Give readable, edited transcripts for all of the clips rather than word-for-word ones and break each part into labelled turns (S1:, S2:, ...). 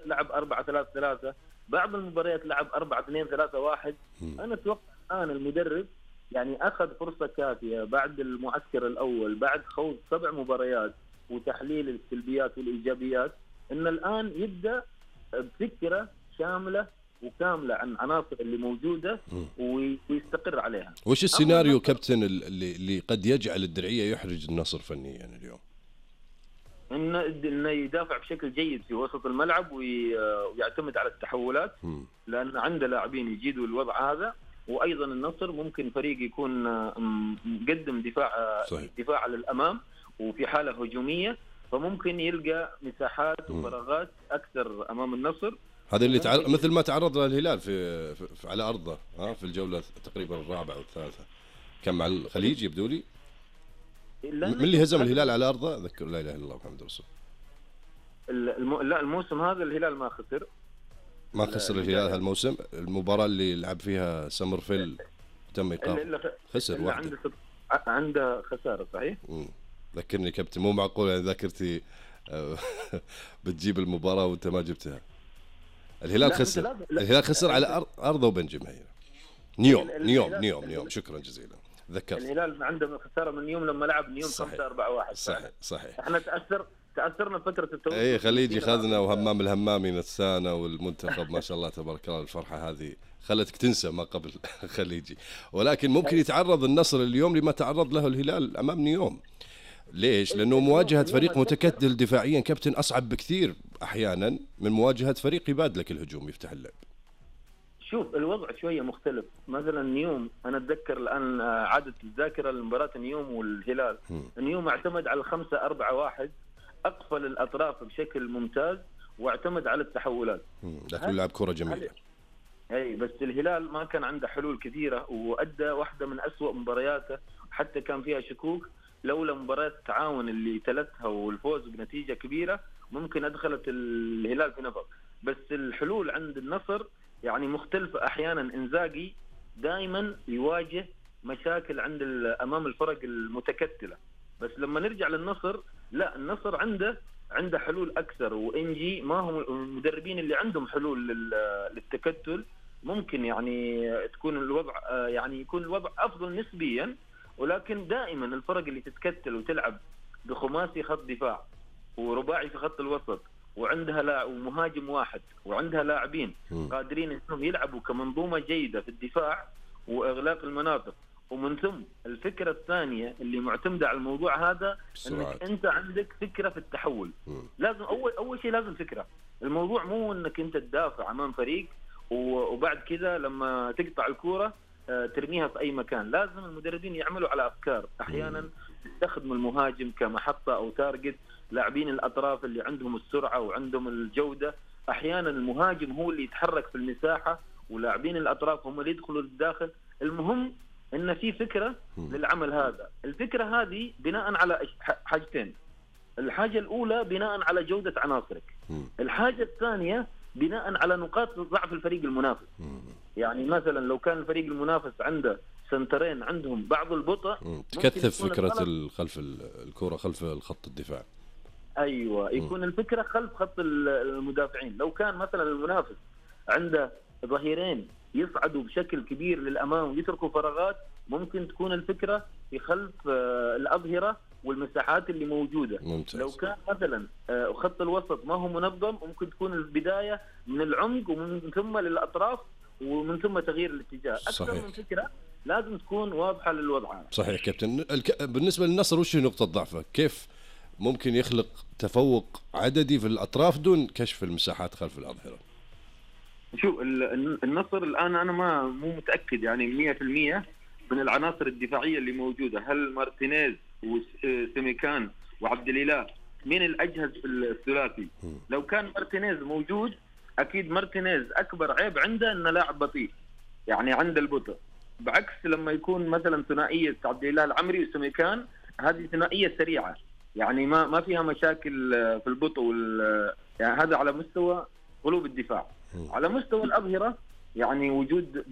S1: لعب 4-3-3، بعض المباريات لعب 4-2-3-1. أنا أتوقع الآن المدرب يعني أخذ فرصة كافية بعد المعسكر الأول، بعد خوض 7 مباريات وتحليل السلبيات والإيجابيات، إن الآن يبدأ بفكرة شاملة وكاملة عن عناصر اللي موجودة ويستقر عليها.
S2: وش السيناريو كابتن اللي قد يجعل الدرعية يحرج النصر فنيا يعني اليوم؟
S1: إنه يدافع بشكل جيد في وسط الملعب ويعتمد على التحولات، لأن عنده لاعبين يجيدوا الوضع هذا. وأيضا النصر ممكن فريق يكون مقدم دفاع للأمام وفي حالة هجومية، فممكن يلقى مساحات وفراغات أكثر أمام النصر.
S2: هذا اللي مثل ما تعرض له الهلال في على أرضه في الجولة تقريبا الرابعة والثالثة، كان مع الخليج يبدو لي. من اللي هزم الهلال على أرضه؟ أذكر لا إله إلا الله محمد رسول.
S1: لا الموسم هذا الهلال ما خسر
S2: الهلال هالموسم. المباراة اللي لعب فيها سمرفيل تم إيقاف، خسر واحد،
S1: عنده خسارة صحيح.
S2: ذكرني كابتن، مو معقول يعني ذاكرتي بتجيب المباراة وانت ما جبتها. الهلال خسر على أرضه وبنجم هي نيوم. شكرا جزيلا ذكرت.
S1: الهلال عنده خسارة من نيوم لما لعب نيوم 5-4-1.
S2: صحيح.
S1: احنا تأثرنا فترة التوقف.
S2: اي خليجي خذنا وهمام الهمامي نسانا، والمنتخب ما شاء الله تبارك الله. الفرحة هذه خلتك تنسى ما قبل خليجي. ولكن ممكن يتعرض النصر اليوم لما تعرض له الهلال أمام نيوم. ليش؟ لأنه مواجهة فريق متكتل دفاعيا كابتن أصعب بكثير أحيانا من مواجهة فريق يبادلك الهجوم يفتح اللعب.
S1: شوف الوضع شوية مختلف. مثلا نيوم، أنا أتذكر الآن عادة الذاكرة لمباراة نيوم والهلال. نيوم اعتمد على 5-4-1، أقفل الأطراف بشكل ممتاز واعتمد على التحولات.
S2: لكن لعب كرة جميلة.
S1: أي بس الهلال ما كان عنده حلول كثيرة، وأدى واحدة من أسوأ مبارياته، حتى كان فيها شكوك لولا مباراة التعاون اللي تلتها والفوز بنتيجة كبيرة ممكن أدخلت الهلال في نفق. بس الحلول عند النصر يعني مختلفة. أحيانا إنزاغي دائما يواجه مشاكل عند أمام الفرق المتكتلة، بس لما نرجع للنصر لا، النصر عنده حلول أكثر، وإنجي ما هم المدربين اللي عندهم حلول للتكتل. ممكن يعني تكون الوضع يعني يكون الوضع أفضل نسبيا، ولكن دائما الفرق اللي تتكتل وتلعب بخماسي خط دفاع ورباعي في خط الوسط وعندها ومهاجم واحد وعندها لاعبين قادرين انهم يلعبوا كمنظومة جيدة في الدفاع واغلاق المناطق. ومن ثم الفكرة الثانية اللي معتمدة على الموضوع هذا انك انت عندك فكرة في التحول. لازم اول شيء لازم فكرة. الموضوع مو انك انت تدافع امام فريق وبعد كذا لما تقطع الكورة ترميها في أي مكان. لازم المدربين يعملوا على أفكار. أحيانا يستخدموا المهاجم كمحطة أو تارجت، لاعبين الأطراف اللي عندهم السرعة وعندهم الجودة. أحيانا المهاجم هو اللي يتحرك في المساحة ولاعبين الأطراف هم اللي يدخلوا للداخل. المهم إن في فكرة للعمل هذا. الفكرة هذه بناء على حاجتين. الحاجة الأولى بناء على جودة عناصرك. الحاجة الثانية بناء على نقاط ضعف الفريق المنافس. يعني مثلا لو كان الفريق المنافس عنده سنترين عندهم بعض البطء،
S2: تكثف فكرة خلف الكرة خلف الخط الدفاع.
S1: أيوة، يكون الفكرة خلف خط المدافعين. لو كان مثلا المنافس عنده ظهيرين يصعدوا بشكل كبير للأمام ويتركوا فراغات، ممكن تكون الفكرة في خلف الأظهرة والمساحات اللي موجودة.
S2: ممتاز.
S1: لو كان مثلا خط الوسط ما هو منظم، ممكن تكون البداية من العمق ومن ثم للأطراف ومن ثم تغيير الاتجاه. أكثر من فكرة لازم تكون واضحة للوضع.
S2: صحيح كابتن. بالنسبة للنصر وش نقطة ضعفه؟ كيف ممكن يخلق تفوق عددي في الأطراف دون كشف المساحات خلف الأظهرة؟
S1: شو النصر الآن أنا مو متأكد يعني 100% من العناصر الدفاعية اللي موجودة. هل مارتينيز وسيميكان وعبد الإله مين الأجهز في الثلاثي؟ لو كان مارتينيز موجود أكيد مارتينيز أكبر عيب عنده إنه لاعب بطيء، يعني عنده البطء. بعكس لما يكون مثلا ثنائية عبد الإله العمري وسيميكان، هذه ثنائية سريعة يعني ما فيها مشاكل في البطء يعني هذا على مستوى قلوب الدفاع. على مستوى الأظهرة يعني وجود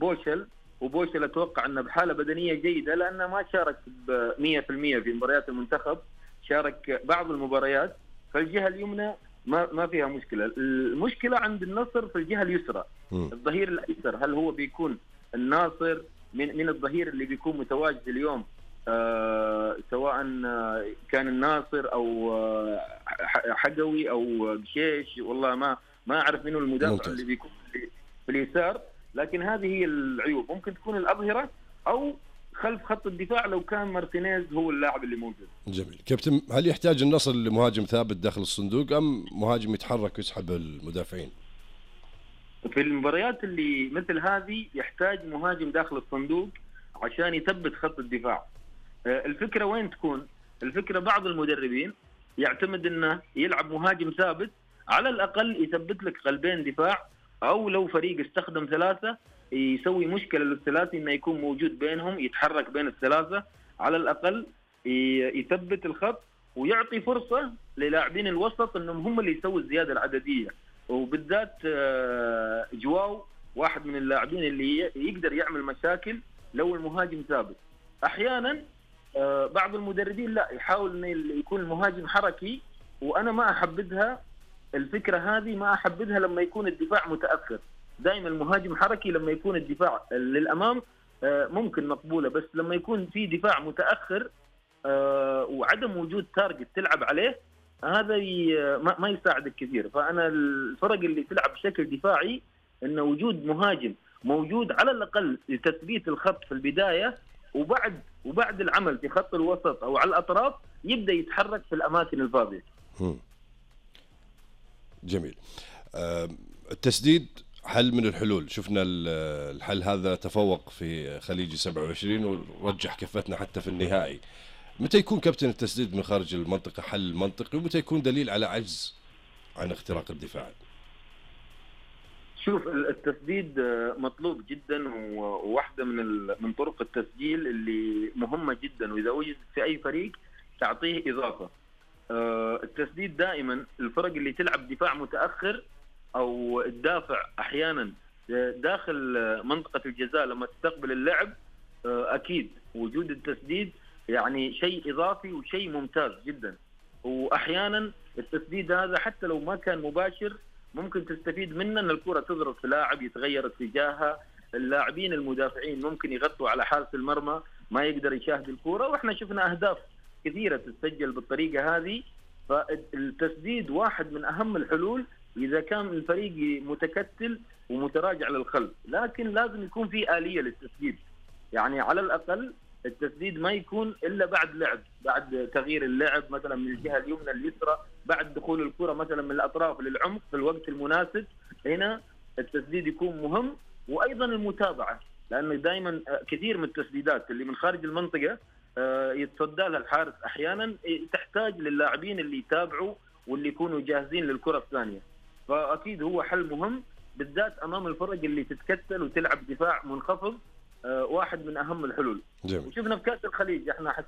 S1: وبوشل أتوقع أنه بحالة بدنية جيدة، لأنه ما شارك 100% في مباريات المنتخب، شارك بعض المباريات. فالجهة اليمنى ما فيها مشكله. المشكله عند النصر في الجهه اليسرى، الظهير الايسر، هل هو بيكون الناصر من الظهير اللي بيكون متواجد اليوم، سواء كان الناصر او حقوي او بشيش، والله ما اعرف منه المدافع اللي بيكون في اليسار، لكن هذه هي العيوب. ممكن تكون الأظهرة او خلف خط الدفاع لو كان مارتينيز هو اللاعب اللي موجود.
S2: جميل. كابتن، هل يحتاج النصر لمهاجم ثابت داخل الصندوق ام مهاجم يتحرك ويسحب المدافعين؟
S1: في المباريات اللي مثل هذه يحتاج مهاجم داخل الصندوق عشان يثبت خط الدفاع. الفكرة وين تكون؟ الفكرة بعض المدربين يعتمد انه يلعب مهاجم ثابت، على الاقل يثبت لك قلبين دفاع، او لو فريق استخدم ثلاثة يسوي مشكلة للثلاثي انه يكون موجود بينهم، يتحرك بين الثلاثة، على الاقل يثبت الخط ويعطي فرصة للاعبين الوسط انهم هم اللي يسووا الزيادة العددية. وبالذات جواو واحد من اللاعبين اللي يقدر يعمل مشاكل لو المهاجم ثابت. احيانا بعض المدربين لا، يحاول ان يكون المهاجم حركي، وانا ما احبذها الفكره هذه، ما احبذها لما يكون الدفاع متاخر. دائما المهاجم حركي لما يكون الدفاع للامام ممكن مقبوله، بس لما يكون في دفاع متاخر وعدم وجود تارجت تلعب عليه، هذا ما يساعدك كثير. فانا الفرق اللي تلعب بشكل دفاعي ان وجود مهاجم موجود على الاقل لتثبيت الخط في البدايه، وبعد العمل في خط الوسط او على الاطراف يبدا يتحرك في الاماكن الفاضيه.
S2: جميل. التسديد حل من الحلول، شفنا الحل هذا تفوق في خليجي 27 ورجح كفتنا حتى في النهائي. متى يكون كابتن التسديد من خارج المنطقة حل منطقي، ومتى يكون دليل على عجز عن اختراق الدفاع؟
S1: شوف، التسديد مطلوب جدا، وواحدة من طرق التسجيل اللي مهمة جدا، وإذا وجد في أي فريق تعطيه إضافة. التسديد دائما الفرق اللي تلعب دفاع متأخر أو الدافع أحيانا داخل منطقة الجزاء لما تستقبل اللعب، أكيد وجود التسديد يعني شيء إضافي وشيء ممتاز جدا. وأحيانا التسديد هذا حتى لو ما كان مباشر ممكن تستفيد منه، ان الكرة تضرب في لاعب يتغير اتجاهها، اللاعبين المدافعين ممكن يغطوا على حارس المرمى ما يقدر يشاهد الكرة، واحنا شفنا اهداف كثيرة تسجل بالطريقة هذه. فالتسديد واحد من اهم الحلول اذا كان الفريق متكتل ومتراجع للخلف، لكن لازم يكون في آلية للتسديد. يعني على الاقل التسديد ما يكون الا بعد لعب، بعد تغيير اللعب مثلا من الجهه اليمنى لليسرى، بعد دخول الكره مثلا من الاطراف للعمق في الوقت المناسب، هنا التسديد يكون مهم. وايضا المتابعه، لانه دائما كثير من التسديدات اللي من خارج المنطقه يتصدى لها الحارس احيانا تحتاج للاعبين اللي يتابعوا واللي يكونوا جاهزين للكره الثانيه. فاكيد هو حل مهم بالذات امام الفرق اللي تتكتل وتلعب دفاع منخفض، واحد من اهم الحلول.
S2: جميل.
S1: وشفنا في كاس الخليج احنا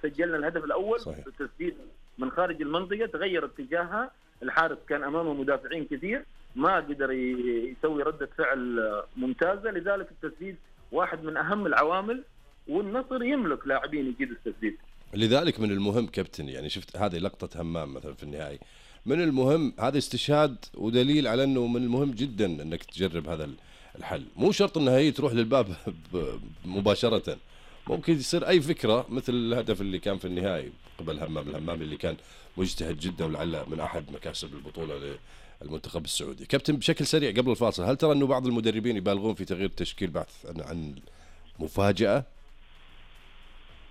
S1: سجلنا الهدف الاول بالتسديد من خارج المنطقه، تغير اتجاهها، الحارس كان امامه مدافعين كثير ما قدر يسوي رده فعل ممتازه، لذلك التسديد واحد من اهم العوامل، والنصر يملك لاعبين يجيدوا التسديد.
S2: لذلك من المهم كابتن، يعني شفت هذه لقطه همام مثلا في النهائي، من المهم هذا استشهاد ودليل على انه من المهم جدا انك تجرب هذا الحل. مو شرط انها هي تروح للباب مباشرة، ممكن يصير اي فكرة مثل الهدف اللي كان في النهائي قبل الهمام اللي كان مجتهد جدا ولعل من احد مكاسب البطولة للمنتخب السعودي. كابتن، بشكل سريع قبل الفاصل، هل ترى انه بعض المدربين يبالغون في تغيير التشكيل بحث عن مفاجأة؟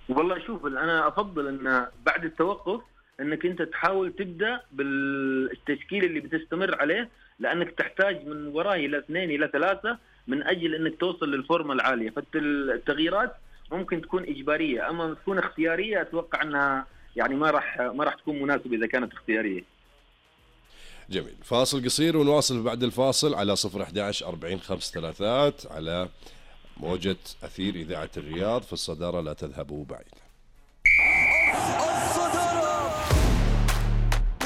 S1: والله شوف، انا افضل ان بعد التوقف انك انت تحاول تبدا بالتشكيل اللي بتستمر عليه، لانك تحتاج من وراه الى 2 إلى 3 من اجل انك توصل للفورمه العاليه. فالتغييرات ممكن تكون اجباريه، اما تكون اختياريه اتوقع انها يعني ما راح تكون مناسبه اذا كانت اختياريه.
S2: جميل. فاصل قصير ونواصل بعد الفاصل على 011 40 5 على موجة أثير إذاعة الرياض. في الصدارة لا تذهبوا بعيدا.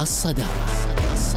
S3: الصدارة